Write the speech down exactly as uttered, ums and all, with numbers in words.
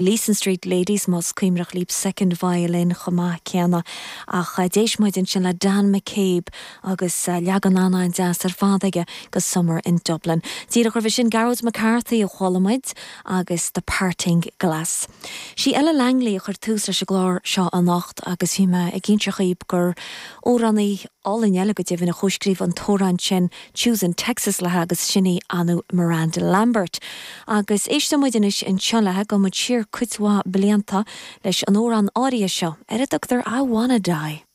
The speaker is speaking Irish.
Leeson Street Ladies más cuimhneach libh second violin chomh maith céanna ach d'éist muid ansin le Dan McCabe agus leagan an-deas ar fad aige de Summer in Dublin. Díreach roimhe sin Gearóid McCarthy a chuala muid agus The Parting Glass. Sí Ella Langley a chuir tús leis an gclár seo anocht agus bhí mé ag inse dhaoibh gur amhránaí álainn eile go deimhin a chomhscríobh an t-amhrán sin Choosing Texas léi agus sin í Anu Miranda Lambert. Agus éistfidh muid anois anseo léi gabhfaidh muid siar cuid mhaith blianta leis an amhrán áirithe seo ar a dtugtar I Wanna Die.